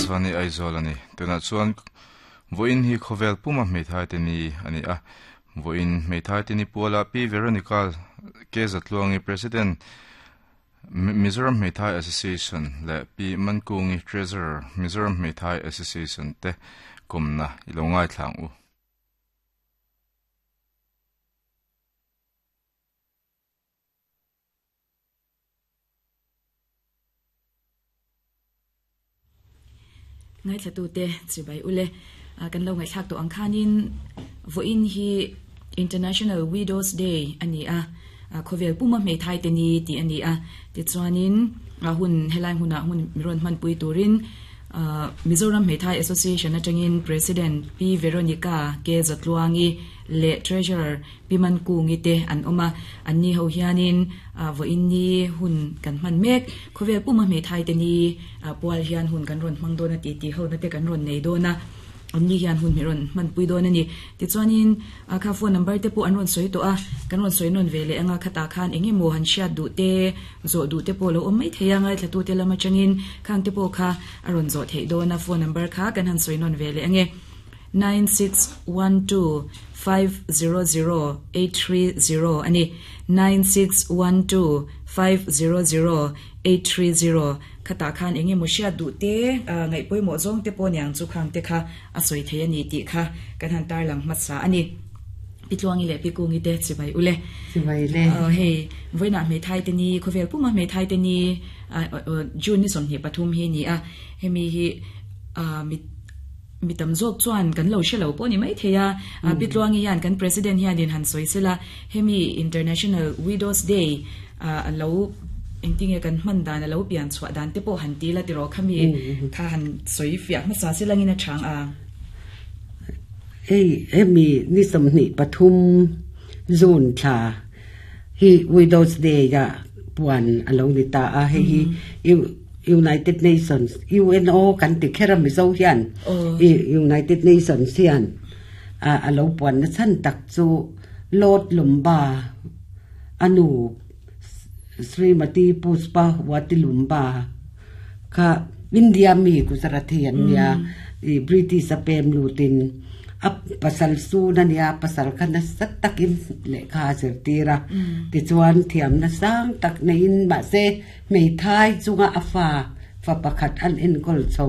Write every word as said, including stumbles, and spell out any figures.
Akashvani Aizawl ani tuna chuan voin hi khovel puma hmeithai te ni ani a voin hmeithai te ni puala Pi Veronica K Zatluangi President Mizoram Hmeithai Association le Pi Mankungi Treasurer Mizoram Hmeithai Association te komna ilo ngai thlang u. Ngai thlatu te chibai ule kan lo ngai thlak to ang khanin voin hi International Widows Day ani a khovel puma hmeithai te ni ti ani a ti chuanin a hun helai huna hun miron man pui turin Mizoram Hmeithai Association atangin President P Veronica K Zatluangi le Treasurer P Mankungi te an oma anni ho hianin voin ni hun kan man mek khovel puma hmeithai te ni pual hian hun kan ron mang dona ti ti ho na te kan ron nei dona anni hian hun miron man pui dona ni ti chuanin kha phone number te pu an ron soi to a kan ron soi non vele anga khata khan enge mo han hriat du te zo du te po lo om mai theia ngai thlatu te lama changin khang te po kha aron zo thei dona phone number kha kan han soi non vele ange nine six one two five zero zero eight three zero ani nine six one two five zero zero eight three zero khata khan enge mo hriat du te ngai poi mo zong te po nyang chu khang te kha a soi thei ani ti kha kan han tar lang ma sa ani pitluangi le pikungi te chibai ule chibai le hei voina hmeithai te ni khovel puma hmeithai te ni June ni somni pathum hi ni a hemi hi mi mitam zok chuan kan lo shelo po ni mai theia pitluangi yan kan president hian din han soisela hemi International Widows Day lo engtinge kan man dan lo pian chwa dan te po han ti la ti ro khami kha han soi fiak ma sa selangin a chang a hei hemi ni somni pathum June tha hi Widows Day ya puan alo ni ta a hei hi United Nations U N O kan ti khera mi zo hian United Nations hian a alo puan na chan tak chu Lord Lumba anu Srimati Puspa Wati Lumba kha India mi Gujarat hian nia i British apem lutin ap pasal su na nia pasal kha na sat takin le kha zer tira ti chuan thiam na sang tak na in ma se mei thai chunga afa fa pakhat an en kol chho